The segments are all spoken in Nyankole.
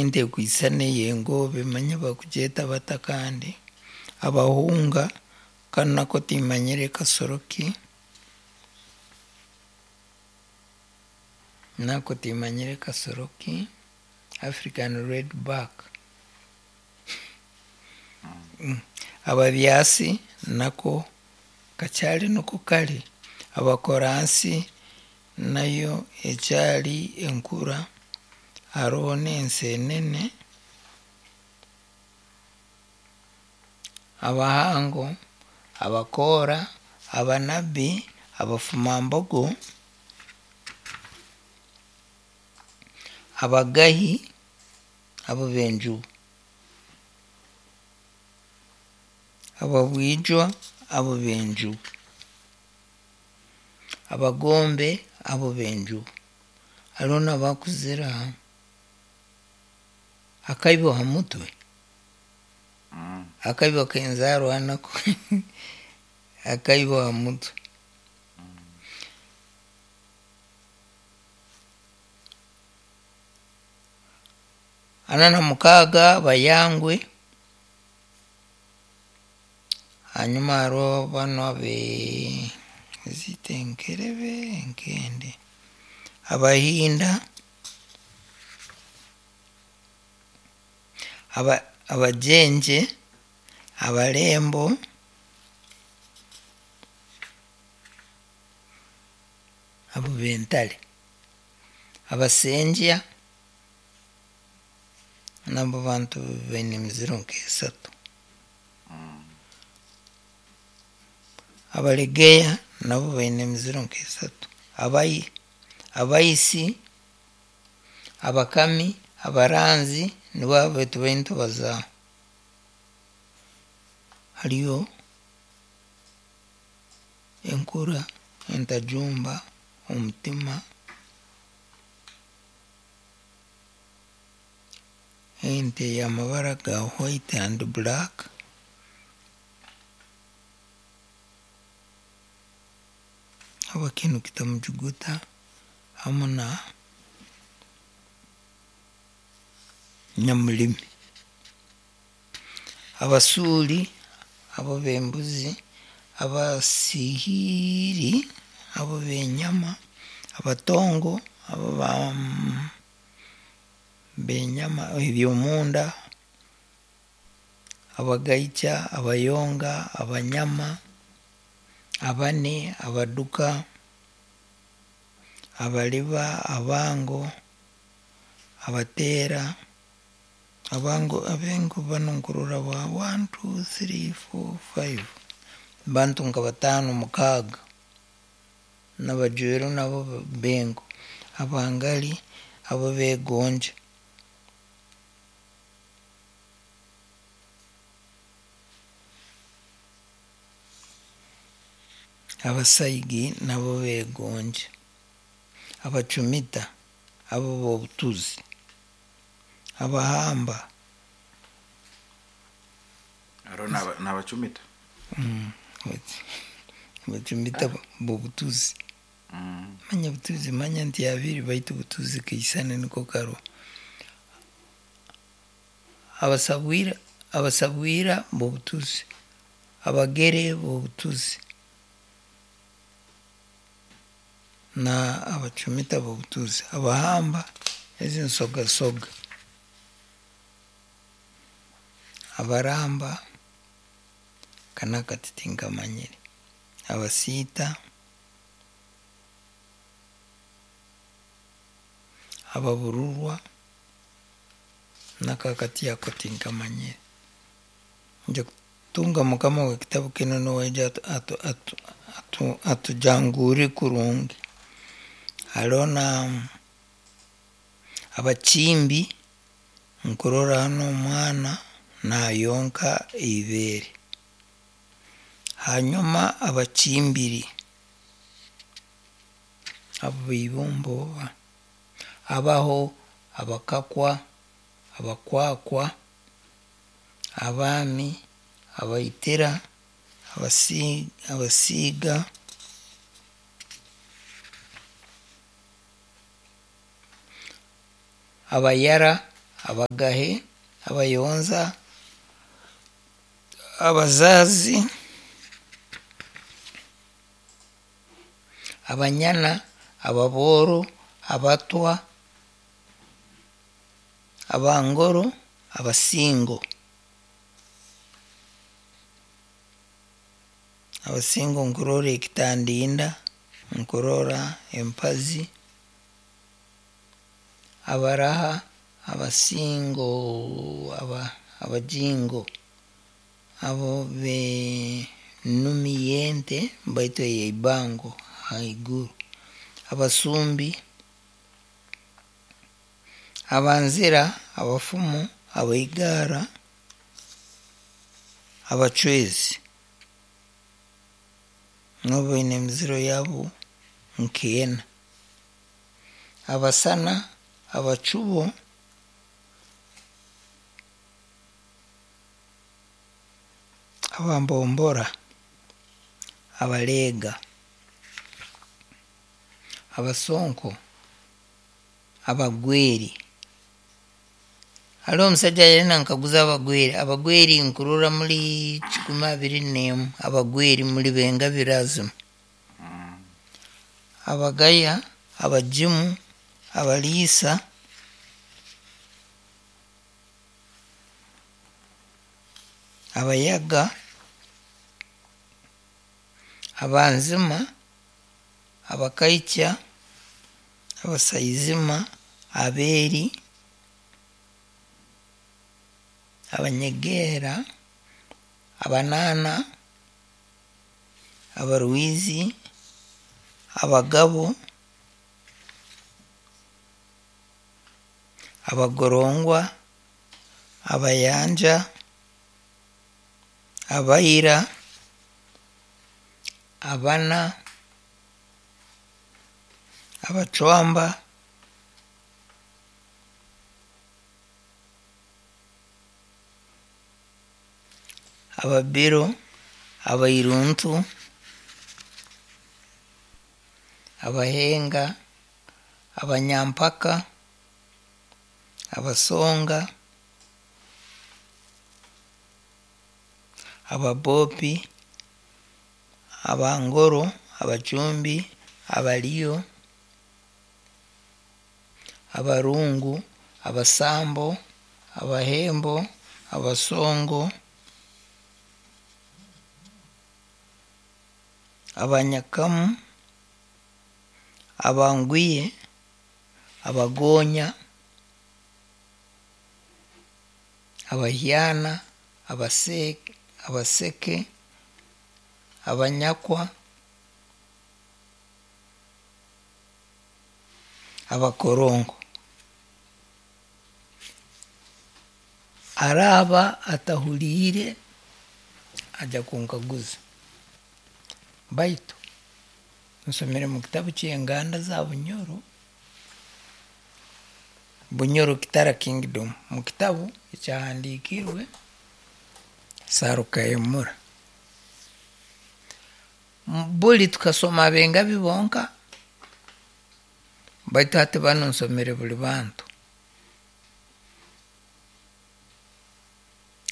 Ente ekwisana ey'engoobe manya bakugyeta bata kandi? Abahunga, kanu nako timmanyire kasoro ki, nako timmanyire kasoro ki, African red back. Ababyasi nako kakyari niko kari, Abakoransi nayo ekyari enkura, hariho n'enseenene, Abahango, Abakoora, Abanabi, Abafumambogo, Abagahi, abo b'enjubu, Ababwijwa, abo b'enjubu, Abagombe, abo b'enjubu. Hariho n'abakuzira akaibo ha mutwe, akaibo k'enzaarwa nako akaibo ha mutwe. 46 Abayangwe, hanyuma hariho banu abe zite enkerebe enkende, Abahinda, Abagyenje, Abarembo, abo b'entare, Abasengya, nabo bantu baine emiziro nk'esatu. Abaregeya nabo baine emiziro nk'esatu. Abaisi, Abakami, Abaranzi nibo abo tubaire nitubazaaho. Hariyo enkura, entajumba, omutima, ente y'amabara ga white and black. Abakintu kitamujuguta hamu na nyamulimi. Abasuuri abo b'embuzi, Abasihiiri abo b'enyama, Abatongo abo b'enyama eby'omunda, Abagaikya, Abayonga, Abanyama, Abane, Abaduka, Abaliba, Abango, Abateera, Abango abengo banu nkurora ba 1, 2, 3, 4, 5 bantu nka bataano mukaaga n'abajweru nabo bengo, Abangali abo begonja. Abasaigi nabo begonja, Abacumita abo b'obutuzi, Abahamba. Hariho n'abacumita. Abacumita b'obutuzi. Manya butuzi manya nti abiri baitu butuzi kaisane niko karoho. Abasabwira abasabwira b'obutuzi, Abagere b'obutuzi na Abacumita b'obutuzi, Abahamba ezi nsogasoga, Abaramba aka n'akati tinkamanyire, Abasiita, Ababururwa nako akati ako tinkamanyire. Nja kutunga mukama w'ekitabu kinu nuwe aije atujanguurre kurungi. Haroho na Abakimbi, nkurora hanu omwana nayonka eibeere. Hanyuma Abakimbiri, abo b'eibumba oba, Abaho, Abakakwa, Abakwakwa, Abaami, Abaitira, Abasiiga, Abayara, Abagahe, Abayonza, Abazazi, Abanyana, Ababoro, Abatwa, Abangoro, Abasingo. Abasingo nkurora ekitandinda, nkurora empazi, Abaraha, Abasingo, Abajingo, abo b'enumi y'ente baitu ey'eibango haiguru, Abasumbi, Abanzira, Abafumu, Abaigara, Abacwezi. Nabo baine emiziro yaabo nk'ena. Abasana, Abacubo, Abambombora, Abaleega, Abasonko, Abagweri. Hariho omusajja yari nankaguza Abagweri. Abagweri nkurora muri 21 Abagweri muri Bengabirazima. Abagaya, Abajimu, Abaliisa, Abayaga, Abanzima, Abakaikya, Abasaizima, Abeeri, Abanyegeera, Abanaana, Abarwizi, Abagabo, Abagorongwa, Abayanja, Abaira, Abana, Abacwamba, Ababiro, Abairuntu, Abahenga, Abanyampaka, Abasonga, Ababopi, Abangoro, Abacumbi, Abaliyo, Abarungu, Abasambo, Abahembo, Abasongo, Abanyakamu, Abangwiye, Abagonya, Abahyana, Abaseke, Abanyakwa, Abakorongo. Araaba atahuriire aja kunkaguza. Baitu nsomere mu kitabu ky'enganda za Bunyoro, Bunyoro Kitara Kingdom, mu kitabu ekyahandiikirwe Sarukahemura. Buli tukasoma Abengabi bonka, baitu hati banu nsomere buli bantu.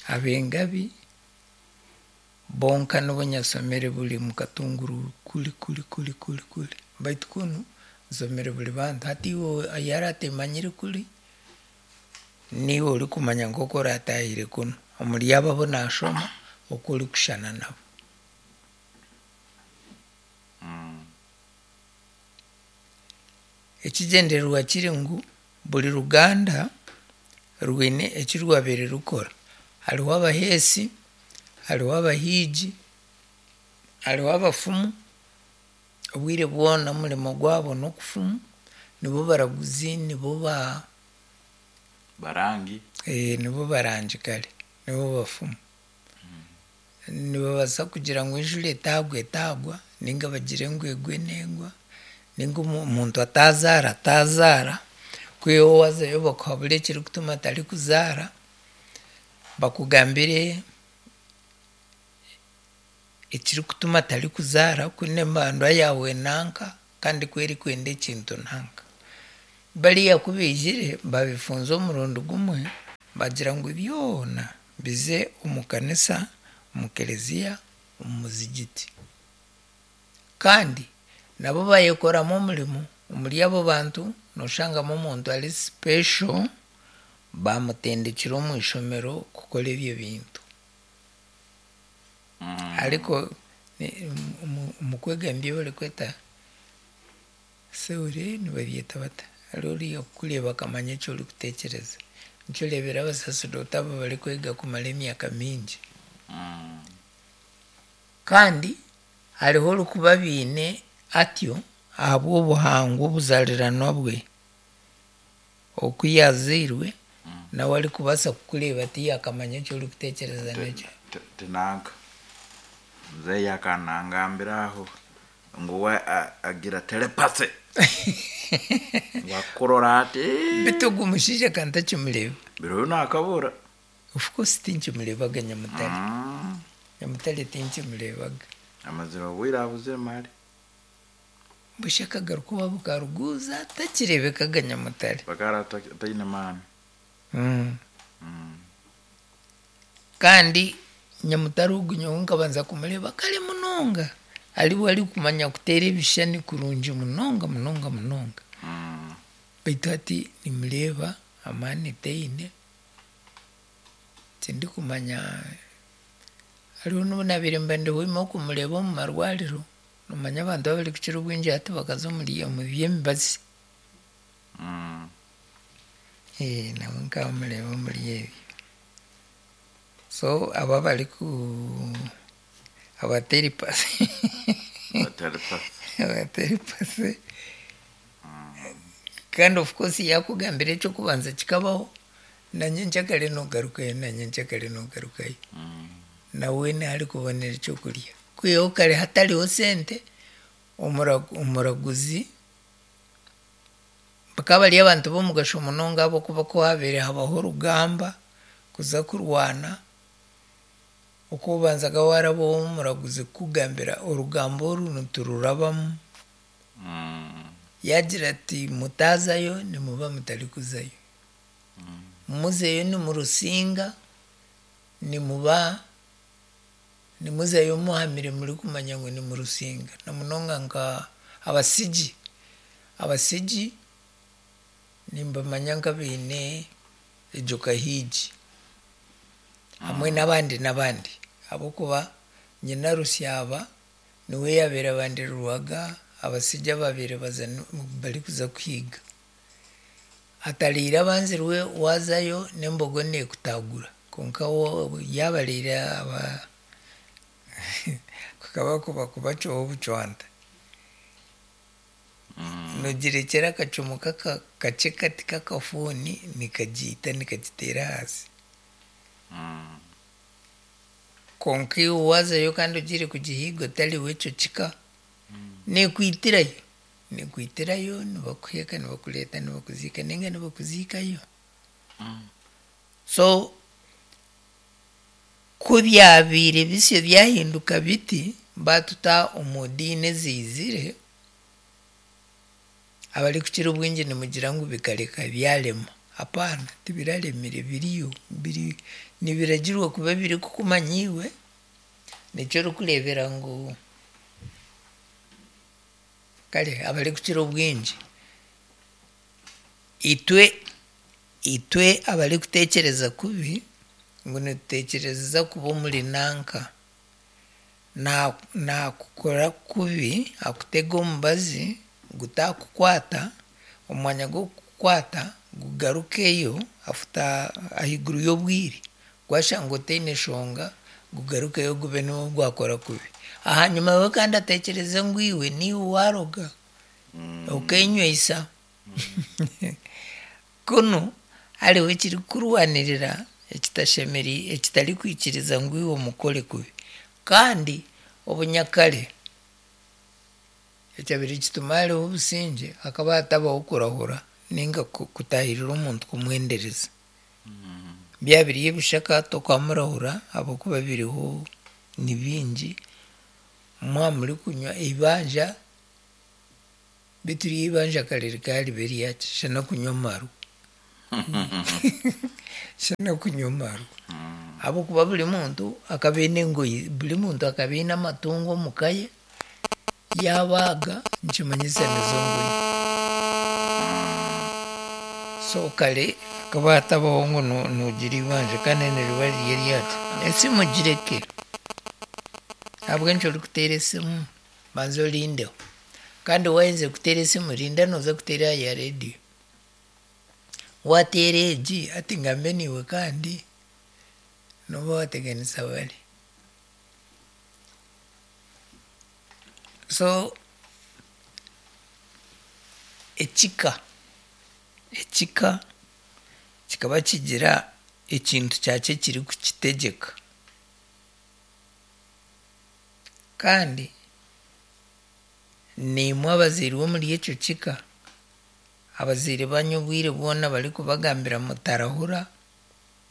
Abengabi bonka nibo nyasomere buli mukatunguru kuli kuli kuli kuli kuli, baitu kunu nsomere buli bantu. Hati iwe yari atemanyire kuli, niiwe orikumanya nk'oku oratahire kunu omuri abo abu nashoma oku orikushushana nabo. Ekigyendererwa kiri ngu buri ruganda rwine eki rwabaire rukora. Hariho abaheesi, hariho abahiigi, hariho abafumu, obwire bwona omurimo gwabo n'okufumu, nibo baraguzi, nibo ba Barangi. Nibo barangi kare, nibo bafumu. Nibabaasa kugira ngu enjura etagwa etagwa, ninga bagire ngu egwe negwa, ninga omuntu atazaara atazaara, kwihaho waazayo bakuhabure ekirikutuma atarikuzaara, bakugambire ekirikutuma atarikuzaara kunu embandwa yaawe nanka kandi ku erikwenda ekintu nanka. Bariya ku baijire babifunza omurundi gumwe bagira ngu byona bize omu kanisa, omu kereziya, omu muzigiti. Kandi nabo bayekoramu omurimo, omuri abo bantu nooshangamu omuntu ari special bamutendekire omu ishomero kukora ebyo bintu. Ariko omu kwega nibyo barikweta theory nibabyeta bata? Hariho oriya kukureeba akamanya eki orikutekyereza. Nikyo oreebera abasaseredooti abo barikwega kumara emyaka mingi. Kandi hariho orikuba abiine atyo ahabw'obuhangwa obuzariranwa bwe. Oku yaazairwe nawe arikubaasa kukureeba ati akamanya eki orikutekyereza n'ekyo. Tinanka muzeeyi akanangambira aho ngu we agira telepathy ngu akurora ati Beitu ogu mushaija ka ntakimureeba. Biro nakabura. Of course tinkimureebaga Nyamutare. Nyamutare tinkimureebaga. Amazire obwire abuzire mali. Busha akagaruka owaabo karuguuza takireebekaga Nyamutare. Bakara ataine maani. Kandi Nyamutare ogu nyowe nkabanza kumureeba kare munonga ariwe arikumanya kuteera ebishushani kurungi munonga munonga munonga. Beitu hati nimureeba amaani taine, tindikumanya hariho n'obu naabaire mba ndihwema kumureeba omu marwariro, noomanya abantu abarikukira obwingi hati bakaza omuri omu by'emibazi. Nawe nkamureeba omuri ebyo. So abo abariku abateripasi abateripasi kandi of course yaakugambira eky'okubanza kikabaho, na nyenkyakare noogarukayo na nyenkyakare noogarukayo. Nawe niho arikubonera ekyokurya. Kwihaho kare hatariho sente, omuraguzi bakaba bari abantu b'omugasho munonga ahabw'okuba ku haabaire habaho orugamba kuza kurwana, oku obanzaga waaraba ow'omuraguzi kukugambira orugamba oru nitururabamu. Yaagira ati mutaazayo nimuba mutarikuzayo. Muzeyo nimurusinga, nimuba nimuzayo muhamire murikumanya ngu nimurusinga. Na munonga nka abasigi. Abasigi nimbamanya nk'abaine egyo kahiigi hamwe n'abandi n'abandi ahabw'okuba nyina Rusyaba niwe yaabaire abandirirwaga abasigi abaabaire baza barikuza kuhiiga. Atariire abanzirwe waazayo n'embogo neekutaagura kwonka yaaba ariire aba kukaba kuba kubacwaho obucwanta. Noogirekyera akacumu kakye kati k'akafuuni nikagiita nikagiteera ahansi. Kwonka iwe waazayo kandi ogiire kugihiiga otari w'ekyo kika, neekwitirayo, neekwitirayo nibakuheeka nibakureeta nibakuziika nainga nibakuziikayo. So ku byabaire bisyo byahinduka biti, baatuta omu diini eziizire, abarikukira obwingi nimugira ngu bikareka byarema. Hapaana, tibiraremire biriyo, biri nibiragirwa kuba birikukumanya iwe, nikyo orikureebera ngu kare abarikukira obwingi itwe itwe abarikuteekyereza kubi ngu nituteekyereza kuba omuri nanka, naakukora kubi akutega omubazi gutaakukwata, omu mwanya gw'okukukwata gugarukeyo afuta ahaiguru y'obwire, gwashanga otaine nshonga gugarukeyo gube niwe gwakora kubi. Ahanyima we kandi ateekyereze ngu iwe niiwe waaroga okeenywisa. Kunu hariho ekirikukurwanirira ekitashemereire ekitarikwikiriza ngu iwe omukore kubi. Kandi obunyakare ekyabaire kituma hariho obusingye hakaba hatabaho kurahura nainga kutaahirira omuntu kumwendereza. Byaba biri ebishaka tokamurahura ahabw'okuba biriho ni bingi, mwaba murikunywa eibanja. Beitu ryo eibanja kare rikaba riba eryaki? Shana kunywa amarwa. Shana kunywa amarwa. Ahabw'okuba buri muntu akaba aine engoyi, buri muntu akaba aine amatungo omu ka ye, yaabaaga nikimanyisa nizo ngoyi. So kare hakaba hatabaho ngu noogira eibanja kandi niriba riri eryaki? Esimu gireke. Ahabw'enki orikuteera esimu? Banza orindeho. Kandi waaheza kuteera esimu rinda nooza kuteera aha ya reediyo. Waateera egi hati ngambe naiwe kandi nooba waateganisa bari. So ekika, ekika kikaba kigira ekintu kyakyo ekirikukitegyeka. Kandi naimwe abazairwe omuri ekyo kika, abazaire banyu obwire bwona barikubagambira mutarahura,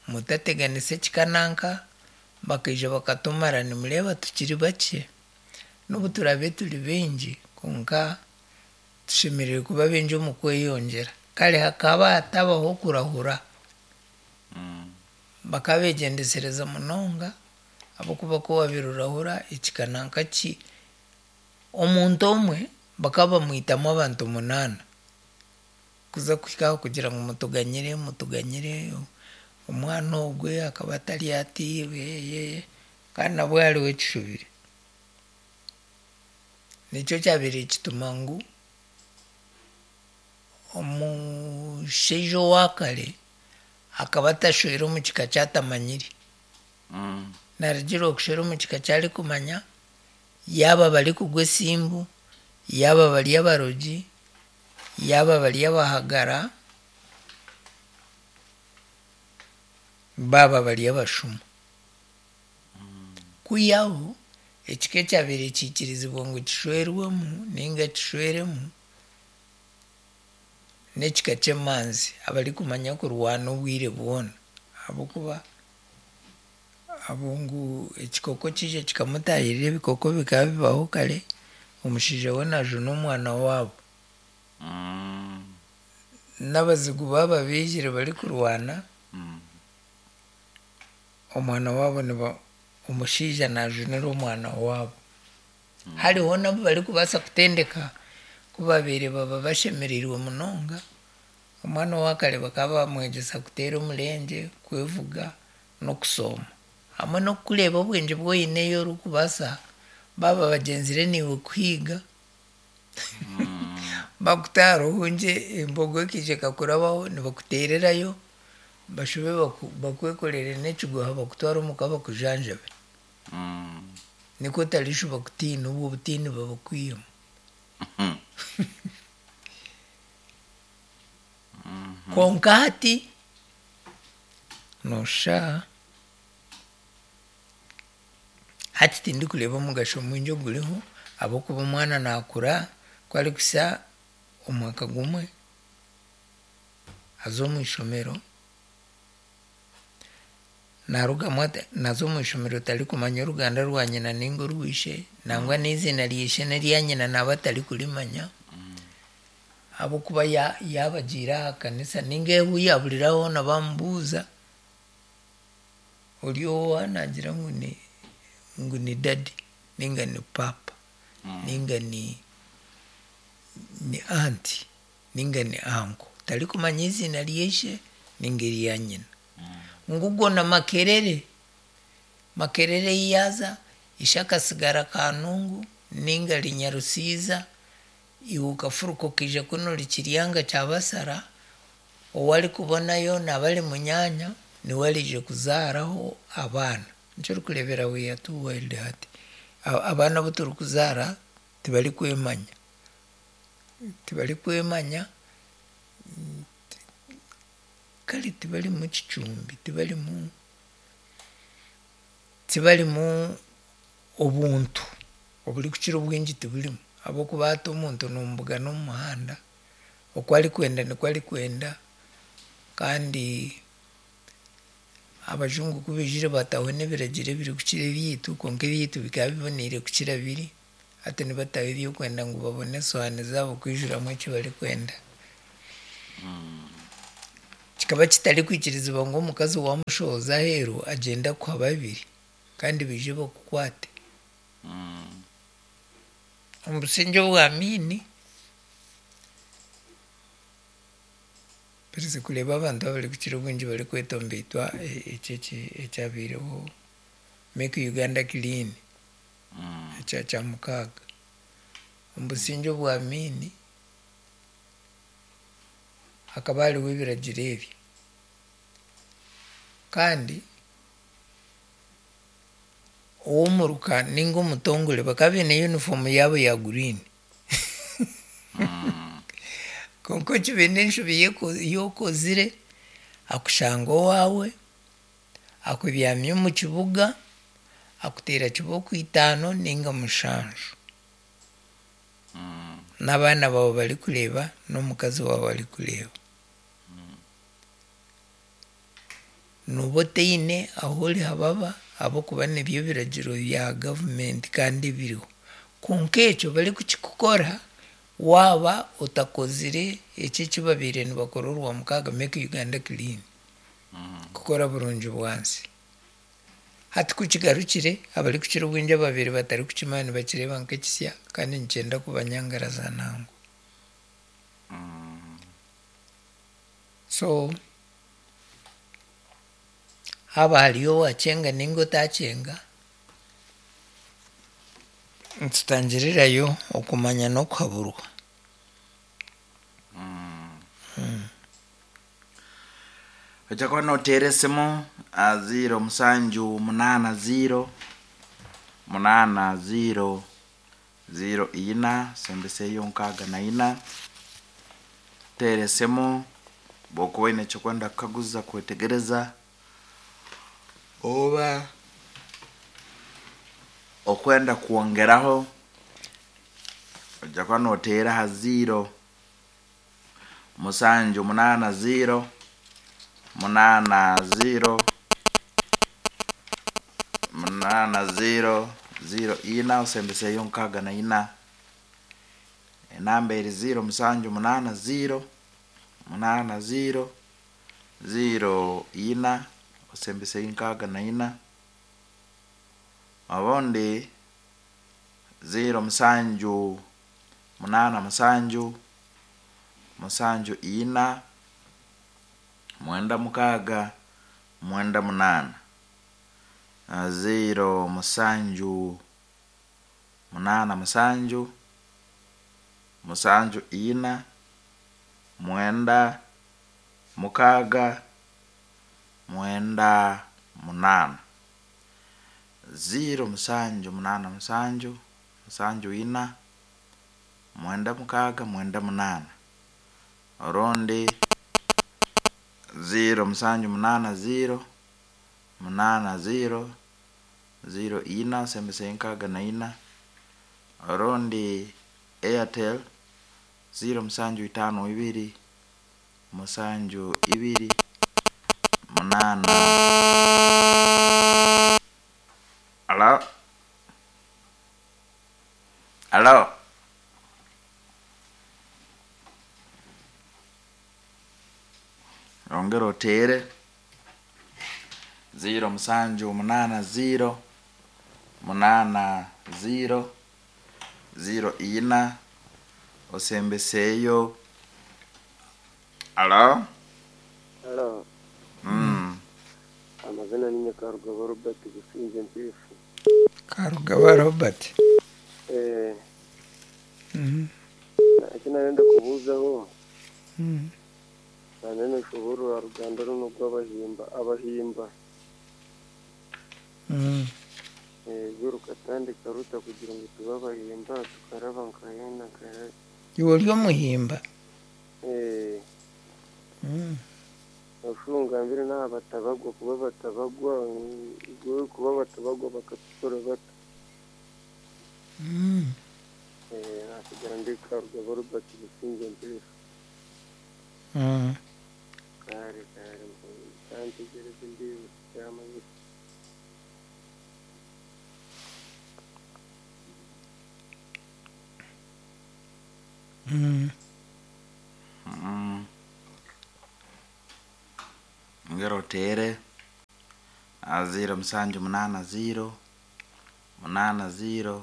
mutateganisa ekika nanka, bakaija bakatumara nimureeba tukiri bakye, n'obu turaabe turi baingi kwonka tushemereire kuba baingi omu kweyongyera. Kare hakaba hatabaho kurahura, bakaba beegyendesereza munonga ahabw'okuba ku waabaire orahura ekika nanka ki, omuntu omwe bakaba bamwitamu abantu munaana kuza kuhika aho kugira ngu mutuganyire, mutuganyire, omwana ogwe akaba atari ati, kandi nabwe hariho ekishubire. Nikyo kyabaire kituma ngu omushaija owa kare akaba atashwera omu kika ki atamanyire. Naarugiirira kushwera omu kika ki arikumanya, yaaba barikugwa esimbu, yaaba bari abarogi, yaaba bari abahagara, baaba bari abashuma. Kwihaho ekika ekyabaire kiikirizibwa ngu kishwerwemu ninga kishweremu n'ekika ky'emanzi abarikumanya kurwana obwire bwona ahabw'okuba abo ngu ekikooko kiija kikamutaahirira ebikooko bikaba bibaho kare, omushaija we naajuna omwana waabo. N'abazigu baaba baijire barikurwana, omwana waabo niba omushaija naajunira omwana waabo. Hariho n'abu barikubaasa kutendeka ku baabaire baba bashemereirwe munonga, omwana owa kare bakaba bamwegyesa kuteera omurengye, kwevuga n'okusooma. Hamwe n'okukureeba obwengye obu oine ei orikubaasa baaba bagyenzire naiwe kuhiiga, bakuta aha ruhungye embogo ekaija ekakurabaho nibakuteererayo bashube bakwekorere n'ekiguha bakutware omuka bakujanjabe. Nikwo otarishuba kutiina obwo obutiini babukwihemu. Kwonka hati nooshusha hati tindikureeba omugasho mwingi oguriho ahabw'okuba omwana naakura ku arikuhitsya omwaka gumwe aza omu ishomero, naarugamu naaza omu ishomero tarikumanya oruganda rwa nyina ninga orwa ishe, nangwa n'eiziina rya ishe n'erya nyina naaba atarikurimanya ahabw'okuba yaaba agiire aha kanisa ninga ahu yaaburira hoona bamubuuza, ori owa naagira ngu ni ngu ni daddy ninga ni paapa ninga ni ni aunty ninga ni uncle, tarikumanya eiziina rya ishe ninga erya nyina. Ngu ogwo na Makerere, Makerere ei yaaza, ishe akasigara Kanungu ninga ari Nyarusiiza, iwe okafuruka okaija kunu ori Kiryanga kya Basara, ou arikubonayo naaba ari munyaanya, niwe araije kuzaaraho abaana. Nikyo orikureebera we are too wild hati. Abaana abu turikuzaara tibarikwemanya, tibarikwemanya, kare tibarimu kicumbi, tibarimu tibarimu obuntu oburikukira obwingi tiburimu ahabw'okuba hati omuntu nomubugana omu muhanda, oku arikwenda nikwo arikwenda kandi abajungu ku baijire baataho n'ebiragiro ebirikukira ebyaitu kwonka ebyaitu bikaba biboneire kukira biri. Hati nibataho eby'okwenda ngu babone esowaani zaabo kwijuramu eki barikwenda. Kikaba kitarikwikirizibwa ngu omukazi waamushohoza aheeru agyende akuha babiri kandi baije bakukwate. Omu busingye obwa Amiini, mperize kureeba abantu abarikukira obwingi barikwetomboitwa eki eki ekyabaireho Make Uganda Clean ekya Kyamukaaga. Omu busingye obwa Amiini hakaba hariho ebiragiro ebi kandi ow'omuruka ninga omutongore bakaba baine yunifoomu yaabo ya guriini. Kwonka okibaine enshobi ei okozire, akushanga owaawe, akubyamya omu kibuga, akuteera kibooko itaano ninga mushanju. N'abaana baawe barikureeba, n'omukazi waawe arikureeba. Nooba otaine ahu orihababa ahabw'okuba nibyo biragiro bya gavumenti kandi ebiriho. Kwonka ekyo barikukikukora waaba otakozire ekyo eki babaire nibakora Orwamukaaga, Make Uganda Clean, kukora burungi bwansi. Hati ku kigarukire, abarikukira obwingi ababaire batarikukimanya nibakireeba nk'ekisya kandi nikyenda kubanyangaraza nangwa. So haaba hariyo owaakyenga ninga otaakyenga, nitutangirirayo okumanya n'okuhaburwa. Ojja kuba noteera esimu aha ziiro musanju munaana ziiro munaana ziiro ziiro ina sembeseyo nkaaga na ina. Teera esimu bw'okuba oine eky'okwenda kukaguza kwetegereza oba okwenda kwongeraho ojja kuba noteera aha ziiro musanju munaana ziiro munaana ziiro munaana ziiro ziiro ina osembeseyo nkaaga na ina. Enamba eri ziiro musanju munaana ziiro munaana ziiro ziiro ina osembeseyo nkaaga na ina. Obundi ziiro musanju munaana musanju musanju ina mwenda mukaaga mwenda munaana. Ziiro musanju munaana musanju musanju ina mwenda mukaaga mwenda munaana. Ziiro musanju munaana musanju musanju ina mwenda mukaaga mwenda munaana. Orundi ziiro musanju munaana ziiro munaana ziiro ziiro ina osembeseyo nkaaga na ina. Orundi Airtel ziiro musanju itaano ibiri musanju ibiri munaana. Alo? Alo? Ongera oteere ziiro musanju munaana ziiro munaana ziiro ziiro ina osembeseyo. Alo? Halo, Mm. amazina ni Nyakarugaba Robert Businge Mpifu. Karugaba Robert. Eh, Mhm. eki narenda kubuuzaho nanene nshoborora ruganda runo rw'abahimba abahimba eh, rwo rukatandika ruta kugira ngu tube abahimba tukaraba nkahena nkahe Iwe ori omuhimba. eh, oshungambire n'aha batabagwa kuba batabagwa mm, kuba batabagwa bakatukora bata. Eh, nasigara ndi Karugaba Robert Businge Mpifu. Kare kare kantegereze ndi kyamanyisa. Ongera oteere 0780 80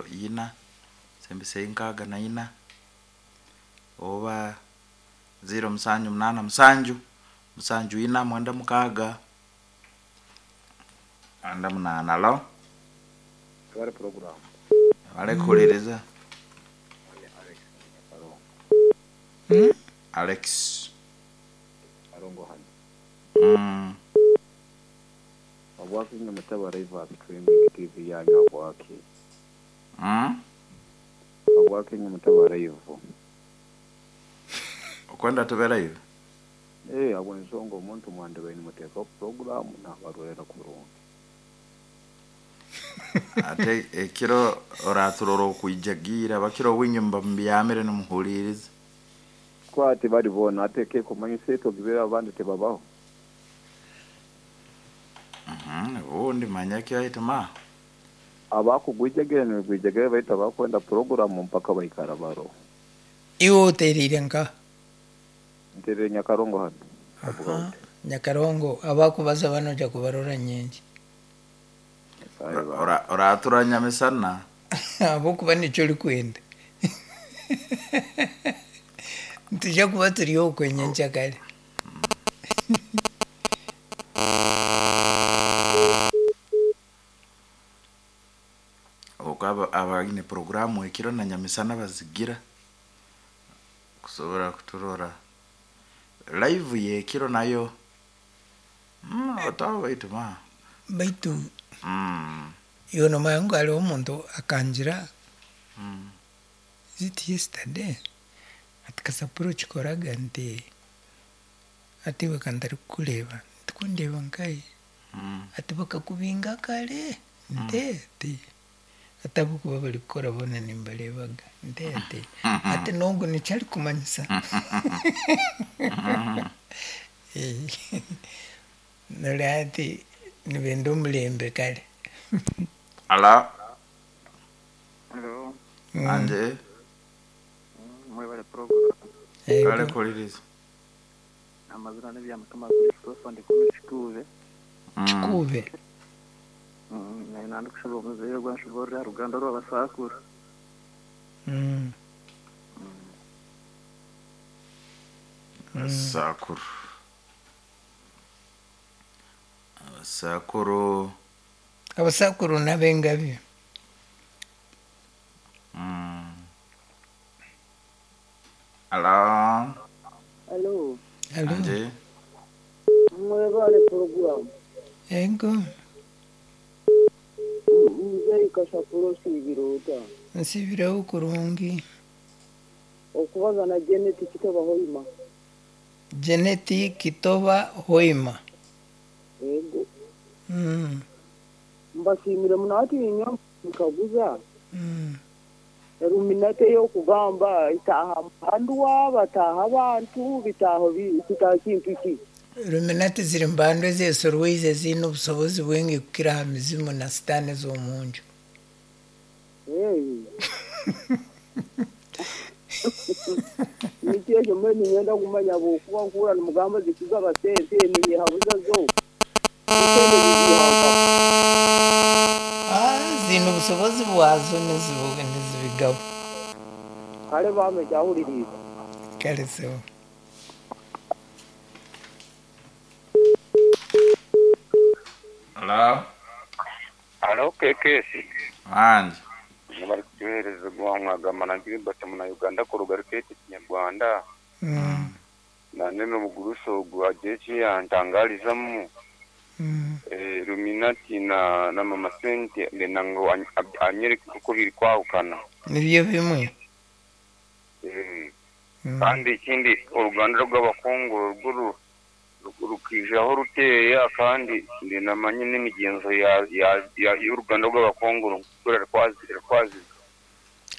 04 sembesa 64 oba 0787 74 96 98. Alo, Twari porogaramu. Balekuhuliriza. Alex Karongo. Alex. Karongo hano. Obwaki nyamutaba live streaming TV yanyu obwaki. Obwaki nyamutaba live. Okwenda tube live. Eh, abo ensonga omuntu mwandebe nimuteeka porogaramu nabarorera kurungi. Ate ekiro oraturora okwijagira bakiro winyumba mubyamire nimuhuliriza. Kwati bari bona ate ke kumanyisa etogibera abandi tebabaho. Ubundi manya kyahituma. Abakugwijagire nibigwijagire baita bakwenda porogaramu mpaka baikara baro. Iwe otereire nka? Nterere Nyakarongo hano. Aha, Nyakarongo abakubaza banoja kubarora nyingi. Oratura nyamisana. Abokuba nikyo orikwenda. Nituja kuba turi okwe nyenkyakare. Okwo abaine porogaramu ekiro na nyamisana bazigira kusobora kuturora live yekiro nayo otaho baitu ma Baitu iwe nomanya ngu hariho omuntu akangira is it yesterday ati Kasapuro okikoraga nti ati iwe kantarikukureeba ntikundeeba nkahi ati bakakubinga kare nti ati ati ahabw'okuba barikukora boona nimbareebaga nti ati ati n'ogu nikyo arikumanyisa. Noreeba ati nibenda omurembe kare. Ala. Hello. Anje. Mwebale program. Kale kuhuliriza. Amazina n'ebyamukama Christopher ndi kuno Kikuube. Kikuube. Nari ndikushaba omuzeeyi ogwanshoborera aha ruganda rw'abasakuru. Abasakuru. Abasakuru. Abasakuru n'abengabi. Alo. Alo. Alo. Anje. Mwebale porogaramu. Ego. Muzeeyi Kasapuro osiibire ota? Nsiibireho kurungi. Okubaza na Janet Kitoba Hoima. Janet Kitoba Hoima. Ego. Mbasiimire muno hati niinywa nkaguza. Eruminate ey'okugamba itaaha mbandu bataaha abantu bitaaho kitaaha kintu ki? Ruminati ziri mbandu ezesorweize ziine obusobozi bwingi kukira aha mizimu na sitaane ez'omunju. Nikyo ekyo mbwenu niinyenda kumanya ahabw'okuba nkuhurira nimugamba zikugaba sente ninyehabuza zo. Esente ziziiha nkaha? Ziine obusobozi bwazo nizibigaba. Kare bampa ekyahuririize. Kare sebo. Hello. Alo KKS. Anje. Bari kutuheereza gwamwagamba na Gilbert muna Uganda kuruga rukete Kinyarwanda. Nane n'omugurusi ogu agira eki yantangarizamu. Luminati na Mama Sente ndenda ngu anyereke oku biri kwahukana. Nibyo bimwe. Kandi ekindi oruganda rw'abakungu rwo rukijaho ruteya kandi ndinamanye n'emigenzo y'uruganda rw'abakungu rukora rwaziga.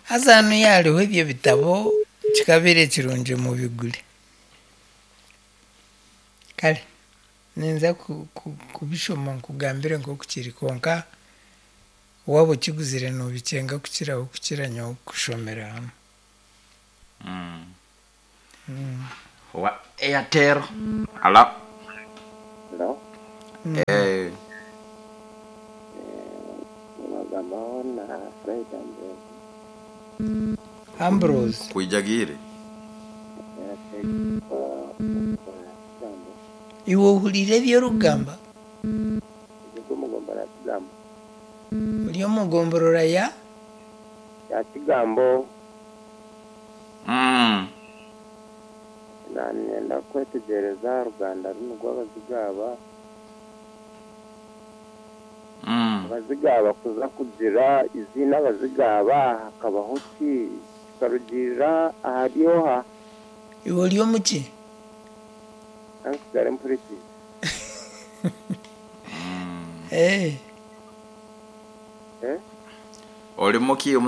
Haza hanu yariho ebyo bitabo kikabeera kirungi mubigure. Kare ninza kubishoma nkugambire nk'oku kiri kwonka waaba okiguzire noobikyenga kukiraho kukira nyowe kushomera hamwe. Wa Airtel. Alo. Eh, Nibagambaho na Fred Ambrose. Ambrose. Kwijagire. Kigambo. Iwe ohuriire eby'orikugamba? Eby'omugomba ya Kigambo. Ori omu gomborora ya? Ya Kigambo. Nanyenda kwetegyereza oruganda runu rw'Abazigaba. Abazigaba kuza kugira iziina Abazigaba hakabaho ki? Kikarugiirira ahari oha? Iwe ori omuki? Kansigare mpurikize. Eh. Eh? Oli muki?